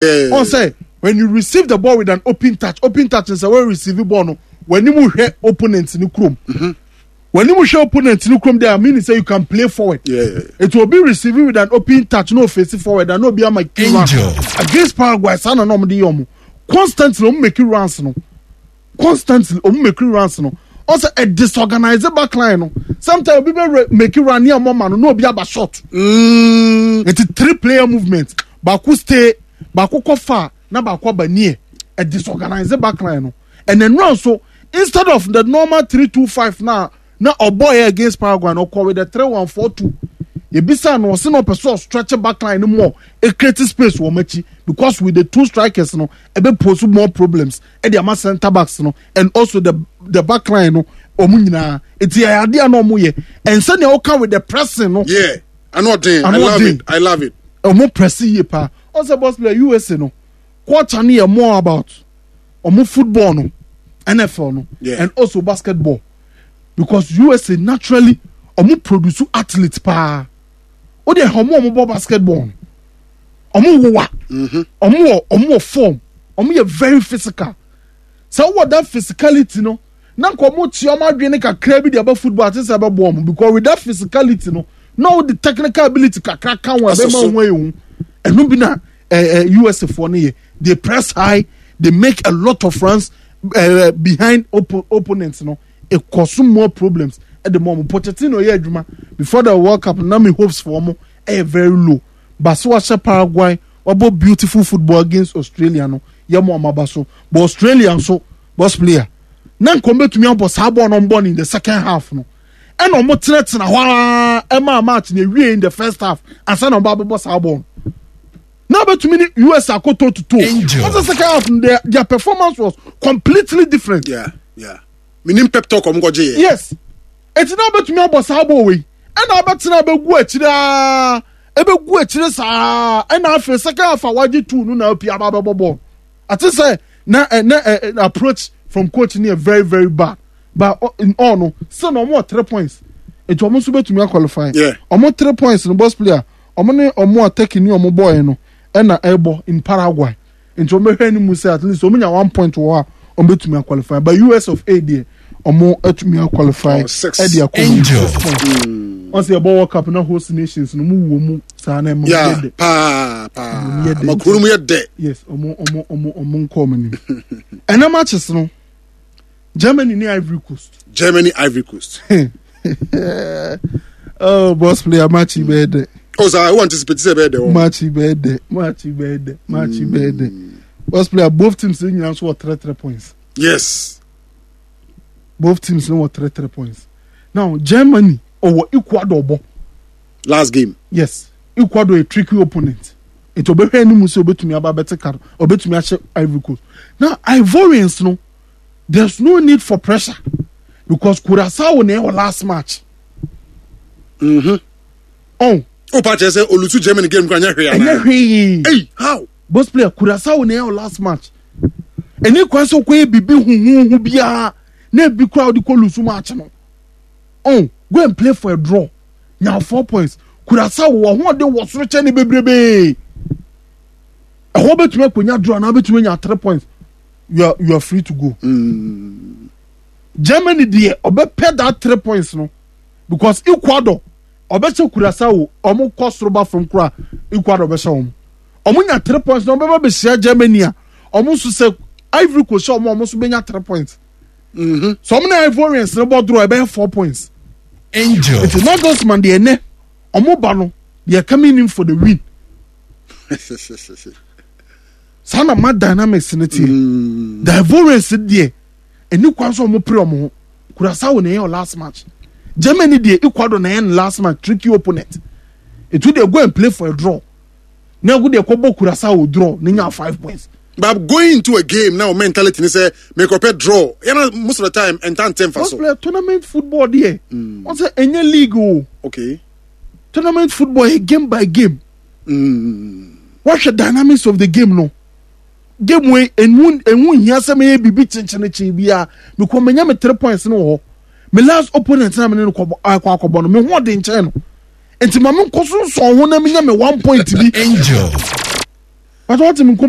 Ɔn sɛ when you receive the ball with an open touch, open touch sɛ wɔn receive ball no, wɔn anim hwɛ opponent ne kurom. Wɔn anim hwɛ opponent ne kurom there meaning sɛ you can play forward. It will be receiving with an open touch no face forward and no be ama key run. Against Paraguay saa na na wɔn de yɛ wɔn constantly wɔn make runs no. Constantly ɔmo make runs no ɔsɛ ɛ disorganize back line no sometimes obi bɛ make run ní ɛmɔ ma no na obi aba short. Nti three player movement baako stay baako kɔ far na baako aba near ɛ disorganize back line no and then run so instead of the normal 3-2-5 na na ɔbɔ yɛ against Paraguay no ɔkɔ with the 3-1-4-2 ebisa no ɔsi na ɔpɛ so ɔstretch back line no more e create space wɔ ɔmo akyi because with the two strikers no ɛbɛ pose more problems ɛde ama centre backs no and also the back line no ɔmo nyinaa eti ɛyɛ adeɛ a na ɔmo yɛ and sɛnea ɔka with the pressing no. Yeah, ano ɔden I love it, I love it. Ɔmo press yie paa ɔsɛ boss player USA no culture no yɛ more about ɔmo football no NFL no yeah. And also basketball because USA naturally ɔmo produce athletes paa o de ɔmo bɔ basketball no ɔmo wowa ɔmo wɔ ɔmo wɔ form ɔmo yɛ very physical sɛ wowɔ that physicality no na nka ɔmo tia ɔmo adwene kakra bi de aba football ate sɛ ɛbɛbɔ ɔmo because with that physicality no na ɔde technical ability kakra ka ho ɛbɛma ho ayɛ hu ɛno bi na ɛɛ USA foɔ no yɛ. They press high, they make a lot of runs behind opponents no. It cause more problems at the moment. Pochettino yɛ adwuma before the World Cup na me hopes for ɔmo ɛyɛ very low. But so wahyɛ Paraguay, wabɔ beautiful football against Australia no, yɛ mo ɔmo aba so. But Australia nso, boss player, na nka ɔmo betumi abɔ saa bɔɔl no ɔmo bɔ no in the second half no. Ɛna ɔmo tenatena hɔ ara ɛmaa match na ewie in the first half ansa na ɔmo abɛbɔ saa bɔɔl no. Na betumi ne US akoto tutu. Wọ́n second half their performance was completely different. Yeah. Minim pep talk ɔmo kɔgye yɛ. Yes. Eti na betumi abɔ saa bɔɔl wei. Ɛna abɛtena abɛgu akyire aa ɛbɛgu akyire saa ɛna afei second half a wagye two no na apia aba abɛbɔ bɔɔl. Ate sɛ na ɛ na ɛ approach from coach ni yɛ very very bad but in all no still na ɔmo wɔ 3 points eti ɔmo nso betumi aqualify. Ɔmo 3 points no boss player ɔmo ne ɔmo a Turkey ne ɔmo bɔɔɛ no ɛna ɛbɔ in Paraguay nti ɔmo bɛhwɛ anim sɛ at least ɔmo nya 1 point wɔ hɔ a ɔmo betumi aqualify but US of A deɛ ɔmo atumi aqualify Oh, six. ɛde akɔ mu 6 points. Wɔn sɛ yɛbɔ World Cup na host nations no ɔmo wɔ mu saa na ɛma ɔmo yɛ dɛ. Paa paa. Ɔmo yɛ dɛ. Ama kuro no mu yɛ dɛ. Yes, ɔmo nkɔ ɔmo anim. Ɛnɛ matches no, Germany ne Ivory Coast. Germany, Ivory Coast. Oh, boss player match yi bɛyɛ dɛ. Oh, sir, I want anticipate sɛ ɛbɛyɛ dɛ wɔ. Match yi bɛyɛ dɛ, match yi bɛyɛ dɛ, match yi bɛyɛ dɛ. Boss player both teams ne nyinaa nso wɔ 3 3 points. Both teams no wɔ 3 3 points. Now Germany ɔwɔ Ecuador bɔ. Last game. Yes, Ecuador a tricky opponent. Nti ɔbɛhwɛ anim sɛ ɔbɛtumi aba abɛte ka no, ɔbɛtumi ahyɛ Ivory Coast. Now Ivorians no, there's no need for pressure because Curacao na ɛwɔ last match. Oh. O pa kyerɛ sɛ olusu Germany game kura nyɛ hwee anaa? Ɛnyɛ hwee. Hey, how? Boss player Curacao na ɛwɔ last match. Ɛni kwan sɛ ɔkɔyɛ biribi huhuhu biara na ebi kura ɔde kɔ lusu match no. Oh, go and play for a draw. Nya 4 points. Curacao wɔ ahoɔden wɔ soro kyɛn ne bebrebee. Ɛhɔ bɛtumi akɔnya draw anaa bɛtumi anya 3 points. You are free to go. Germany deɛ ɔbɛpɛ that 3 points no because Ecuador ɔbɛhyɛ Curacao ɔmo kɔ soro ba fam kora Ecuador bɛhyɛ wɔn. Ɔmo nya 3 points na ɔbɛba bɛhyia Germany a ɔmo nso sɛ Ivory Coast hyɛ ɔmo a ɔmo nso bɛnya 3 points. So ɔmo na Ivorians no bɔ draw ɛbɛyɛ 4 points. Angel. Nti Nagelsmann deɛ ɛnɛ ɔmo ba no they are coming in for the win. Saa na ma dynamics no teɛ. The Ivorians deɛ ɛni kwan sɛ ɔmo pere ɔmo ho. Curacao na ɛyɛ ɔ last match. Germany deɛ Ecuador na ɛyɛ no last match tricky opponent. Etu deɛ go and play for a draw. Na ɛgo deɛ kɔbɔ Curacao draw na nya 5 points. But going into a game now mentality ni sɛ mekɔpɛ draw. Yana most of the time ɛnta nfa Most so. player tournament football deɛ. Wɔn sɛ ɛnyɛ league o. Tournament football yɛ game by game. Wɔhwɛ dynamics of the game no. Game wei emu nhia sɛ mɛyɛ biribi kyenkyenkyen biara because menya me 3 points no wɔ hɔ. Me last opponent na me ne no kɔbɔ akɔ akɔbɔ no me ho ɔden nkyɛn no. Nti ma me nkɔ so nsɔn ho na menya me 1 point bi. Angel. But wɔte mi nkɔmɔ.